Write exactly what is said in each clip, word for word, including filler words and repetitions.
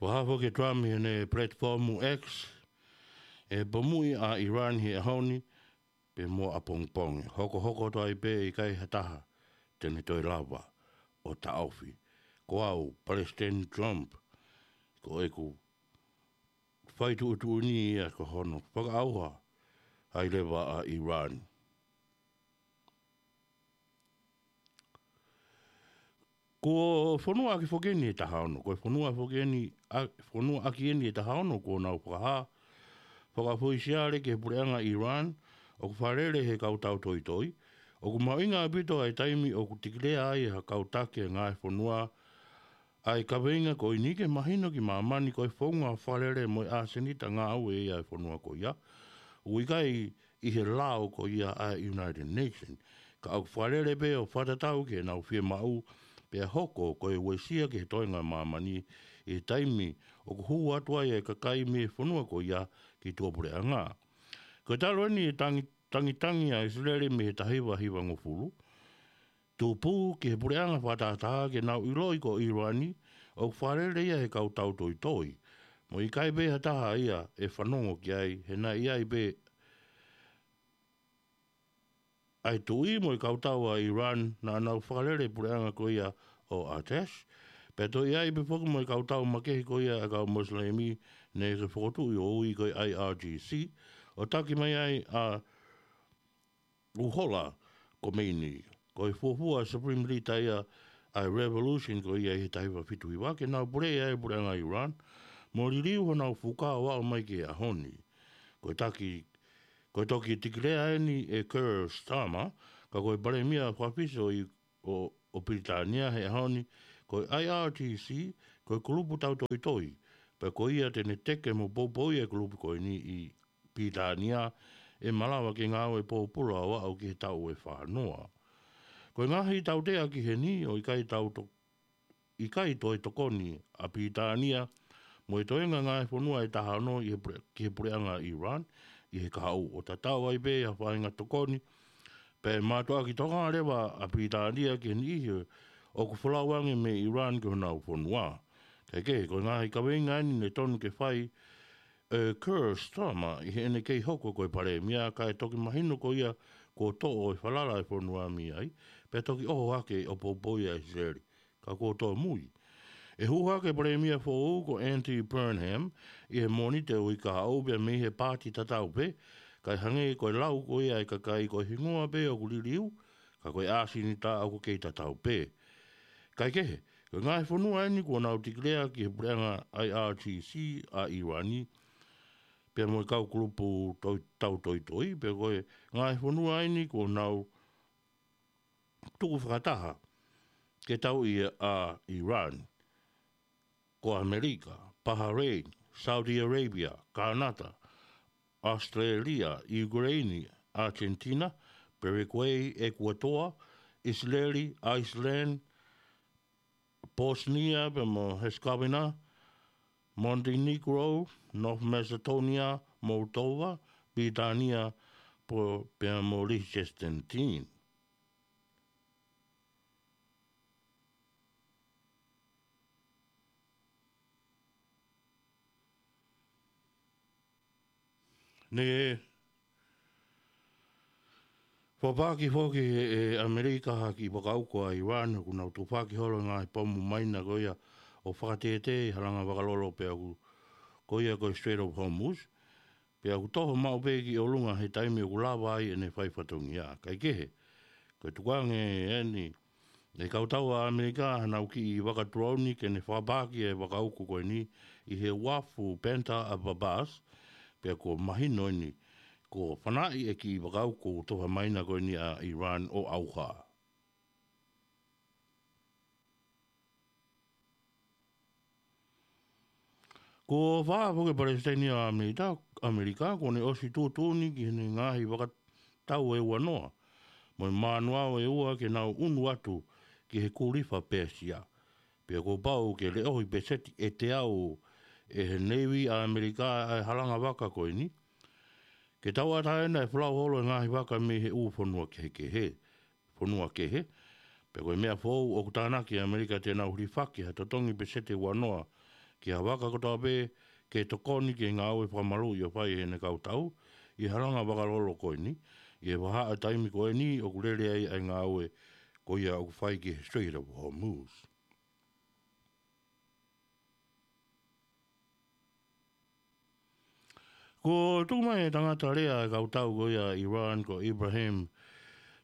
Fakahā foki ʻe Trump ʻi heʻene platform X, ʻe pomuʻi ʻa Iran he ʻaho ni, pea mo ʻapongipongi. Hokohoko atu ai pē ʻe ʻikai ha taha te ne toe lava ʻo taʻofi. Ko au, Palesiteni Trump, ko ʻeku fai tuʻutuʻuni ia ko hono fakaʻauha ai leva ʻa Iran. Ko e fonua ʻaki foki eni ʻe taha ono, ko e fonua foki eni, ʻa, fonua ʻaki eni ʻe taha ono kuo nau fakahā fakafoʻi siale ki he puleʻanga Iran ʻoku fakalele ʻe he kau tau toitoi. ʻOku mahuʻinga ʻaupito ʻa e taimi ʻoku tikilea ai ʻe ha kau taki ʻa e ngaahi fonua ʻa e kaveinga ko eni ke mahino ki māmani ko e founga fakalele mo e ʻasenita ngāue ia ʻa e fonua ko ia. ʻOku ʻikai ʻi he lao ko ia ʻa e United Nations. Ka ʻoku fakalele pē ʻo fakatatau ki heʻenau fiemaʻu, pea hoko ko e uesia ki he toenga ʻo māmani ʻi he taimi ʻoku hū atu ai ʻa e kakai mei he fonua ko ia ki tuʻapuleʻanga. Ko e talu eni e tangi, tangitangi ʻa ʻIsileli mei he taha hiva hiva ngofulu. Tupu ki he puleʻanga fakatātā ke nau ʻiloʻi ko Iran ʻoku fakalele ia ʻe he kau tau toitoi. Mo e ʻikai pē ha taha ia ʻe fanongo ki ai, he naʻe ʻi ai pē ʻa e tuʻi mo e kau tau ʻa Iran naʻa nau fakalele puleʻanga ko ia ʻo Atesh. Pea toe ʻi ai pē foki mo e kau tau makehe ko ia ʻa e kau Mosilemi naʻe fokotuʻu ʻo ui ko e I R G C, ʻo taki mai ai ʻa Ruhollah Khomeini. Ko e fuofua Supreme Leader ia ʻa e revolution ko ia ʻi he taha hiva fitu hiva ke nau puleʻi ʻa e puleʻanga Iran, mo liliu honau fuka ʻo aʻu mai ki he ʻaho ni. Ko e taki, ko e toki tikilea eni ʻe Keir Starmer, ka ko e palēmia fakafisi ʻo, ʻo, ʻo Pilitānia he ʻaho ni, ko e I R G C, ko e kulupu tau toitoi, pea ko ia te ne teke mo poupouʻi e kulupu ko eni ʻi Pilitānia ʻe malava ke ngāue pōpula ʻo aʻu ki he taʻu ʻe fā noa. Ko e ngaahi tautea ki heni ʻo ʻikai tau to-, ʻikai toe tokoni ʻa Pilitānia mo e toenga ngaahi fonua ʻe taha ono ʻi he pule-, ki he puleʻanga Iran ʻi he kahaʻu ʻo tatau ai pē ʻa e faʻahinga tokoni, pea ʻe mātuʻaki tokanga leva ʻa Pilitānia ki he niʻihi ʻoku folau ange mei Iran ki honau fonua. Kaekehe, ko e ngaahi kaveinga eni ne tonu ke fai ʻe Keir Starmer ʻi heʻene kei hoko ko e palēmia, kae toki mahino ko ia kuo toʻo e falala ʻa e fonua mei ai, pea toki ʻoho hake ʻo poupouʻi ʻa ʻIsileli. Ka kuo tōmui. ʻE hū hake e palēmia foʻou ko Andy Burnham ʻi he Mōnite ʻo e uike kahaʻu pea mei he paati tatau pē, kae hangē ko e lau ko ia ʻa e kakai ko e hingoa pē ʻoku liliu, ka ko e ʻasenita ʻoku kei tatau pē. Kaekehe, ko e ngaahi fonua eni kuo nau tikilea ki he puleʻanga I R G C ʻa Iran, pea mo e kau kulupu toi-, tau toitoi, pea ko e ngaahi fonua eni kuo nau tuku fakataha ke tauʻi ʻa Iran, ko ʻAmelika, Bahrain, Saudi Arabia, Kanata, ʻAositelēlia, ʻIukeleini, ʻAsentina, Paraguay, ʻEkuatoa, ʻIsileli, Iceland, Bosnia pea mo Herzegovina, Montenegro, North Macedonia, Moldova, Pilitānia, po-, pea mo Liechtenstein. Ne fakapaaki foki ʻe, ʻe ʻAmelika ha kiʻi vakauko ʻa Iran, ʻoku nau tufaki holo e ngaahi pomu maina ko ia ʻo fakatētē ʻi he halanga vakalolo pea ʻoku, ko ia ko e Strait of Hormuz, pea ʻoku toho maʻu pē ki ʻolunga he taimi ʻoku lava ai ʻene fai fatongia. Kaekehe, ko e tukuange eni ʻe he kau tau ʻa ʻAmelika hanau kiʻi vaka tulouni ke ne fakapaaki e vakauko ko eni ʻi he uafu Bandar Abbas, pea kuo mahino eni kuo fanaʻi e kiʻi vakauko tufa maina ko eni ʻa Iran ʻo ʻauha. Kuo fakahā foki ʻe he Palesiteni ʻa ʻAmelita-, ʻAmelika, kuo ne ʻosi tuʻutuʻuni ki heʻene ngaahi vakatau ʻe ua noa mo e manuao ʻe ua ke nau ʻunu atu ki he Kulifa Pēsia. Pea kuo pau ke leʻohi peseti ʻe teau ʻe he Navy ʻa ʻAmelika ʻa e halanga vaka ko eni, ke tauʻatāina e folau holo e ngaahi vaka mei he ʻū fonua kehekehe, fonua kehe. Pea ko e meʻa foʻou ʻoku tānaki ʻe ʻAmelika te nau hilifaki ha totongi peseti ʻe ua noa ki ha vaka kotoa pē ke tokoni ki he ngāue fakamaluʻi ʻoku fai ʻe heʻene kau tau ʻi he halanga vakalolo ko eni, ʻi he vahaʻa taimi ko eni ʻoku lele ai ʻa e ngāue ko ia ʻoku fai ki he Strait of Hormuz. Kuo tuku mai ʻe he tangata lea ʻa e kau tau ko ia ʻa Iran ko Ibrahim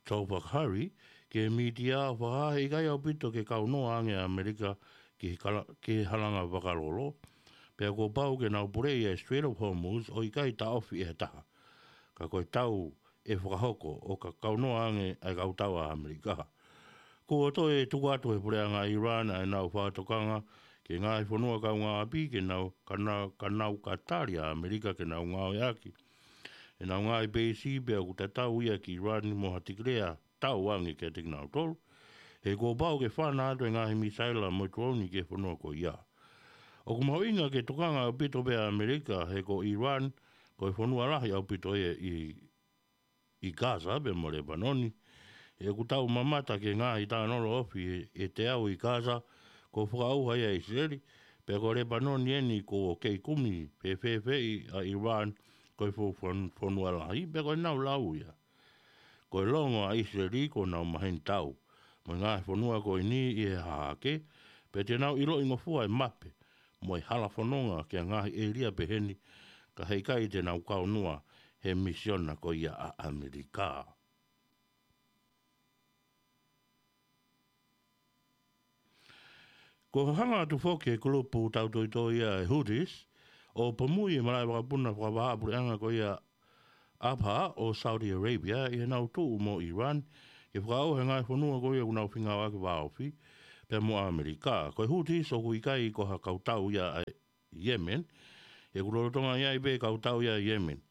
Tofakari ki he mītia ʻo fakahā he ʻikai ʻaupito ke kaunoa ange ʻa ʻAmelika ki he kala-, ki he halanga vakalolo. Pea kuo pau ke nau puleʻi ʻa e Strait of Hormuz ʻo ʻikai taʻofi ʻe ha taha. Ka ko e tau ʻe fakahoko ʻo ka kaunoa ange ʻa e kau tau ʻa ʻAmelika. Kuo toe tuku atu ʻe he puleʻanga ʻa Iran ʻa ʻenau fakatokanga ki he ngaahi fonua kaungāʻapi ke nau, ka nau, ka nau ka tali ʻa ʻAmelika ke nau ngāueʻaki ʻenau ngaahi peisi pea ʻoku tatau ia ki Iran mo ha tikilea tau ange kiate kinautolu. He kuo pau ke fana atu e ngaahi misaila mo e tuoni ki he fonua ko ia. ʻOku mahuʻinga ke tokanga ʻaupito pē ʻa ʻAmelika he ko Iran, ko e fonua lahi ʻaupito ia ʻi ʻi Gaza pea mo Lepanoni. He ʻoku tau mamata ki he ngaahi tānolo ofi ʻe, ʻe teau ʻi Gaza, kuo fakaʻauha ia ʻe ʻIsileli, pea ko Lepanoni eni kuo kei kumi fēfēfeʻi ʻa Iran ko e fo-, fon-, fonua lahi, pea ko ʻenau lau ia. Ko e longo ʻa ʻIsileli kuo nau maheni tau mo e ngaahi fonua ko eni ʻi he hahake, pea te nau ʻiloʻi ngofua e mape mo e hala fononga ki he ngaahi ʻēlia peheni, ka heʻikai te nau kaunoa he misiona ko ia ʻa ʻAmelika. Kuo hanga atu foki ʻe he kulupu tautoitoi ʻa e Houthis ʻo pomui e malaʻe vakapuna fakavahaʻapuleʻanga ko ia Abha ʻo Saudi Arabia ʻi heʻenau tuʻu mo Iran ke fakaʻauha e ngaahi fonua ko ia ʻoku nau fengāueʻaki vāofi pea mo ʻAmelika. Ko e Houthis ʻoku ʻikai ko ha kau tau ia ʻa Yemen, he ʻoku lolotonga ʻi ai pē kau tau ia ʻi Yemen.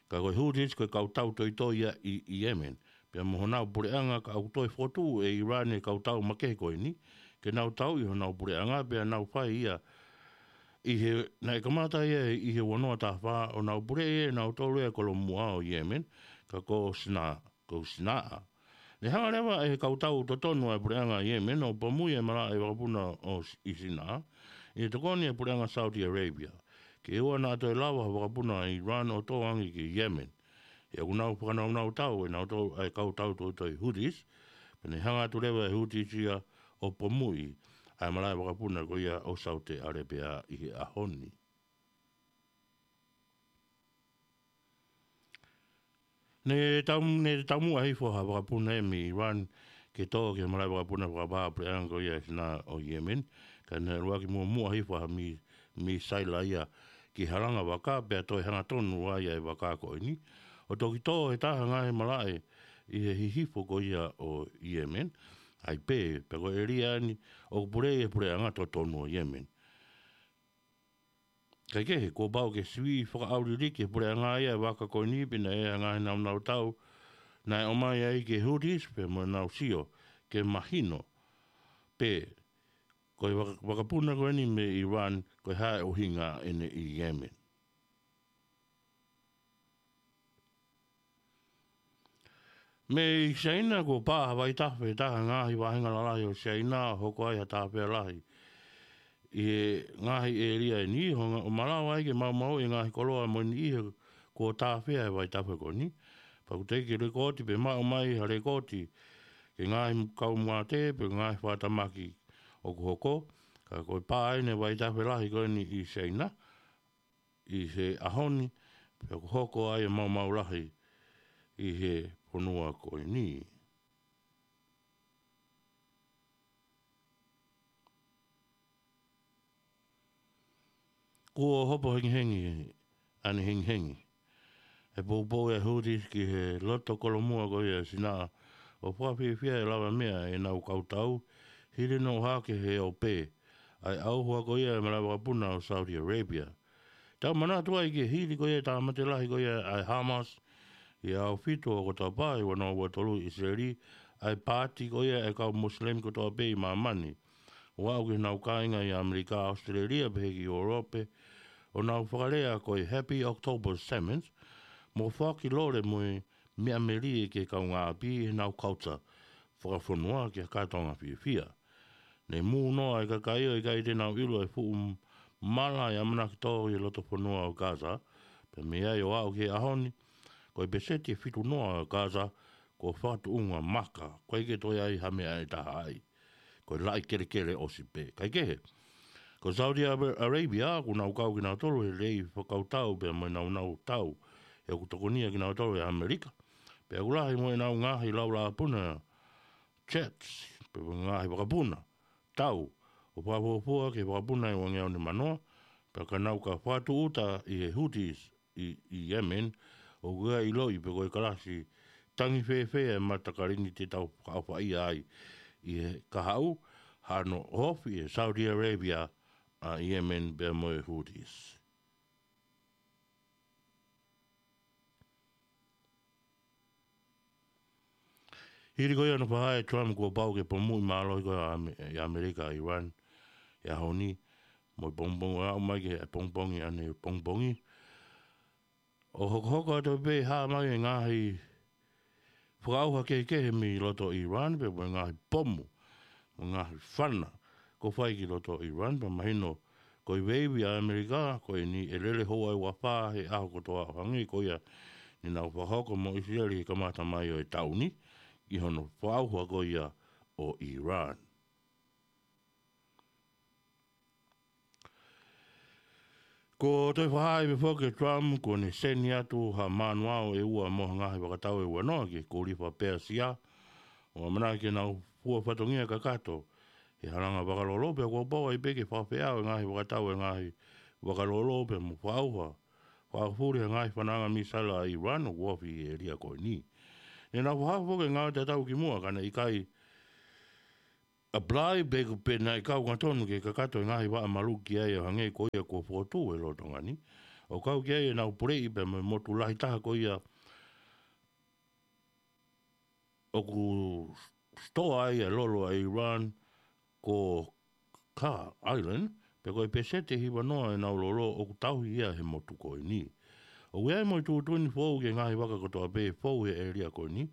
Ka ko e Houthis ko e kau tau toitoi ia ʻi, ʻi Yemen. Pea mo honau puleʻanga ka ʻoku toe fokotuʻu ʻe Iran e kau tau makehe ko eni, ke nau tauʻi honau puleʻanga pea nau fai ia ʻi he, naʻe kamata ia ʻi he ua noa taha fā ʻo nau puleʻi ʻe nautolu ʻa e kolomuʻa ʻo Yemen, ka ko Sina, ko Sinaʻa. Ne hanga leva ʻe he kau tau totonu ʻa e puleʻanga ʻi Yemen ʻo pomui e malaʻe vakapuna ʻo S-, ʻi Sinaʻa, ʻi he tokoni ʻa e puleʻanga Saudi Arabia. Ke ʻoua naʻa toe lava ha vakapuna ʻa Iran ʻo tō ange ki Yemen. He ʻoku nau fakanaunau tau ʻe nautolu ʻa e kau tau toitoi Houthis, pea ne hanga atu leva ʻe he Houthis ia ʻo pomui ʻa e malaʻe vakapuna ko ia ʻo Saudi Arabia ʻi he ʻaho ni. Ne tau, ne taumuʻa hifo ha vakapuna ʻe mei Iran ke tō ki he malaʻe vakapuna fakavahaʻapuleʻanga ko ia ʻa Sinaʻa ʻo Yemen, ka ne ʻalu ʻaki muʻomuʻa hifo ha mi-, misaila ia ki he halanga vaka pea toe hangatonu ai ʻa e vaka ko eni ʻo toki tō he taha ngaahi malaʻe ʻi he hihifo ko ia ʻo Yemen, ʻa ia pē, pea ko e ʻēlia eni ʻoku puleʻi ʻe he puleʻanga totonu ʻo Yemen. Kaekehe, kuo pau ke sivi fakaʻauliliki ʻe he puleʻanga ia e vaka ko eni pea naʻe ʻi ai ha ngaahi naunau tau naʻe ʻomai ai ki he Houthis pea mo ʻenau sio ke mahino pē ko e vaka-, vakapuna ko eni mei Iran, ko e hā e ʻuhinga ʻene ʻi Yemen. Mei Siaina, kuo pā ha vaitafe ʻe taha he ngaahi vāhenga lalahi ʻo Siaina ʻo hoko ai ha tāfea lahi ʻi he ngaahi ʻēlia eni, ʻo nga-, ʻo malava ai ke maumauʻi e ngaahi koloa mo e niʻihi kuo tāfea ʻe he vaitafe ko eni. Pea ʻoku teʻeki lekooti pe maʻu mai ha lekooti ki he ngaahi kaumātuʻa pe ngaahi fakatamaki ʻoku hoko, ka ko e pā eni e vaitafe lahi ko eni ʻi Siaina ʻi he ʻaho ni, pea ʻoku hoko ai e maumau lahi ʻi he fonua ko eni. Kuo hopo hengihengi, ʻanehengihengi e poupou ʻa e Houthis ki he loto kolomuʻa ko ia ʻa Sinaʻa, ʻo fakafiefia e lavameʻa ʻenau kau tau, hili hono ʻohake ʻe he ʻope ʻa e ʻauha ko ia e malaʻe vakapuna ʻo Saudi Arabia. Tau manatu ai ki he hili ko ia e tāmate lahi ko ia ʻa e Hamas ʻi he ʻaho fitu ʻo ʻOkatopa ʻi he ua noa ua tolu ʻi ʻIsileli, ʻa e paati ko ia e kau Muslim kotoa pē ʻi māmani, ʻo aʻu ki heʻenau kāinga ʻi ʻAmelika, ʻAositelēlia pehē ki ʻIulope, ʻo nau fakalea ko e Happy October Sevens, mo fakilole mo e meʻa melie ki he kaungāʻapi ʻi heʻenau culture fakafonua ki ha kātoanga fiefia. Ne mūnoa e kakai ʻo ʻikai te nau ʻilo e fuʻu m-, mala ʻe ʻamanaki tō ʻi he loto fonua ʻo Gaza, pea mei ai ʻo aʻu ki he ʻaho ni, ko e peseti ʻe fitu noa ʻo Gaza, kuo fakatuʻunga maka, ʻoku ʻikai ke toe ʻi ai ha meʻa ʻe taha ai. Ko e laʻi kelekele ʻosi pē. Kae kehe, ko Saudi Ara-, Arabia, ʻoku nau kau kinautolu he lelei fakakautau pea mo e naunau tau, he ʻoku tokonia kinautolu ʻe ʻAmelika. Pea ʻoku lahi mo ʻenau ngaahi laulāpuna, jets, pea mo e ngaahi vakapuna tau, ʻo fakafuofua ki he vakapuna ʻe ua ngeau nimanoa, pea ka nau ka fakatūʻuta ʻi he Houthis ʻi, ʻi Yemen, ʻoku ʻikai ʻiloʻi pe ko e kalasi tangi fēfē e matakali ni te tau fakaʻofaʻia ai ʻi he kahaʻu, hano ofi ʻe Saudi Arabia ʻa Yemen pea mo e Houthis. Hili ko ia naʻe fakahā ʻe Trump kuo pau ke pomuʻi mālohi ko ia ʻa Ame-, ʻi ʻAmelika ʻa Iran he ʻaho ni, mo e pongipongi, ʻo aʻu mai ki he pongipongi ʻanepongipongi. ʻO hokohoko atu pē hā mai e ngaahi fakaʻauha kehekehe mei loto Iran, pea mo e ngaahi pomu, mo e ngaahi fana, kuo fai ki loto Iran, pea mahino ko e veivi ʻa ʻAmelika, ko eni ʻe lele houa ʻe uafā he ʻaho kotoa ʻo hangē ko ia ne nau fakahoko mo ʻIsileli he kamata mai ʻo e taʻu ni, ʻi hono fakaʻauha ko ia ʻo Iran. Ko e toe fakahā pē foki ʻe Trump, kuo ne seni atu ha manuao ʻe ua mo ha ngaahi fakatau ʻe ua noa ki he Kōloa Pēsia, ʻo ʻamanaki ke nau fua fatongia kakato he halanga vakalolo, pea kuo pau ai pē ke fakafeʻao e ngaahi fakatau e ngaahi vakalolo, pea mo fakaʻauha, fakafuli e ngaahi fananga misaila ʻa Iran ʻoku ofi ʻi he ʻēlia ko eni. Ne nau fakahā foki e ngāue tatau ki muʻa, ka naʻe ʻikai apply pe ko e pē naʻe kau angatonu ke kakato e ngaahi vaʻa maluki ai ʻo hangē ko ia kuo fokotuʻu ʻe lolotonga ni. ʻO kau ki ai ʻenau puleʻi pea mo e motu lahi taha ko ia ʻoku sitoa ai e lolo ʻa Iran ko Khar Island, pea ko e peseti ʻe hiva noa ʻenau lolo ʻoku tauhi ia he motu ko eni. ʻOku ʻi ai mo e tuʻutuʻuni foʻou ki he ngaahi vaka kotoa pē ʻe fou he ʻēlia ko eni,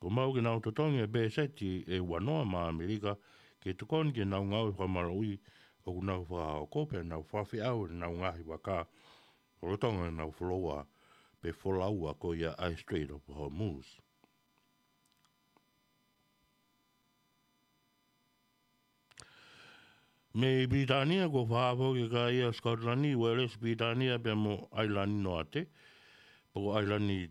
kuo pau ke nau totongi e peseti ʻe ua noa maʻa ʻAmelika, ke tokoni ki heʻenau ngāue fakamaluʻi ʻoku nau fakahoko pea nau fakafeʻao ʻenau ngaahi vaka, lolotonga ʻenau foloua, pe folaua ko ia ʻa e Strait of Hormuz. Mei Pilitānia, kuo fakahā foki ʻe he kakai ʻa Scotland, Uēlesi, Pilitānia pea mo ʻAilani Noate, pe ko ʻAilani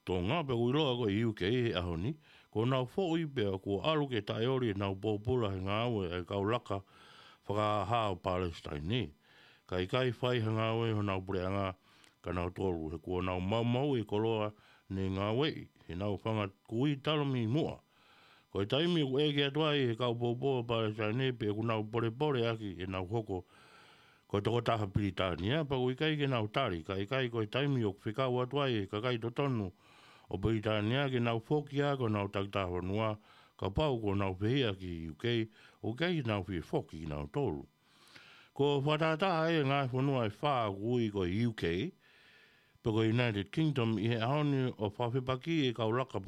Tonga, pea ʻoku ʻiloa ko e U K he ʻaho ni, kuo nau foʻi pea kuo ʻalu ke taʻeoli ʻenau pōpula he ngāue ʻa e kau laka fakahā ʻo Palesitaine. Ka ʻikai fai ha ngāue honau puleʻanga, ka nau tolu he kuo nau maumauʻi e koloa ne ngāueʻi, heʻenau fanga kui talu mei muʻa. Ko e taimi ʻoku ʻeke atu ai ʻe he kau poupou ʻa Palesitaine pe ʻoku nau polepole ʻaki ʻenau hoko ko e tokotaha Pilitānia, pea ʻoku ʻikai ke nau tali, ka ʻikai ko e taimi ʻoku fekau atu ai ʻe he kakai totonu ʻo Pilitānia ke nau foki ʻaki honau takitaha fonua, kapau kuo nau fehiʻa ki he U K, ʻoku ʻikai ke nau fie foki kinautolu. Kuo fakatātā ai e ngaahi fonua ʻe fā ʻoku ui ko e U K, pe ko e United Kingdom ʻi he ʻaho ni ʻo fakafepakiʻi e kau laka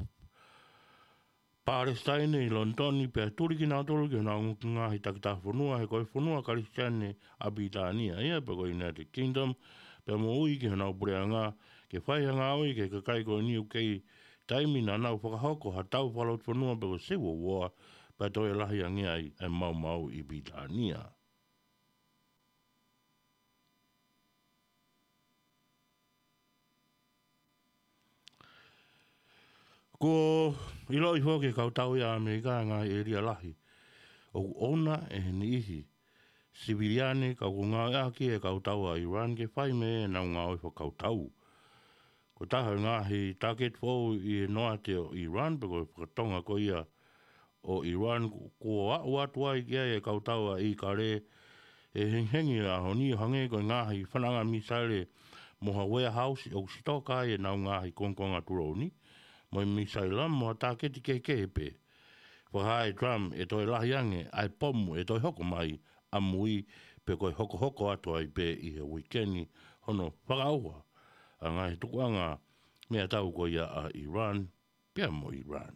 Palesitaine ʻi Lonitoni pea tuli kinautolu ki honau ngaahi takitaha fonua he ko e fonua Kalisitiane ʻa Pilitānia ia pe ko e United Kingdom, pea mo ui ki honau puleʻanga ke fai ha ngāue ki he kakai ko eni ʻi he U K, taimi naʻa nau fakahoko ha tau fakalotofonua pe ko e civil war, pea toe lahi ange ai e maumau ʻi Pilitānia. Kuo ʻiloʻi foki ʻe he kau tauʻi ʻa ʻAmelika e ngaahi ʻēlia lahi ʻoku ʻouna ʻe he niʻihi siviliane, ka ʻoku ngāueʻaki ʻe he kau tauʻi ʻa Iran ke fai mei ai ʻenau ngāue fakakautau. Ko e taha e ngaahi tāketi foʻou ʻi he noate ʻo Iran, pe ko e fakatonga ko ia ʻo Iran, kuo aʻu atu ai ki ai e kau tauʻi ʻa ʻIkale, ʻe hengihengi ʻa e ʻaho ni ʻo hangē ko e ngaahi fananga misaile mo ha warehouse ʻoku sitoka ai ʻenau ngaahi kongokonga tulouni mo e misaila mo ha tāketi kehekehe pē. Fakahā ʻe Trump ʻe toe lahi ange ʻa e pomu ʻe toe hoko mai ʻamui, pe ko e hokohoko atu ai pē ʻi he uike ni hono fakaʻauha ʻa e ngaahi tukuʻanga meʻatau ko ia ʻa Iran pea mo Iran.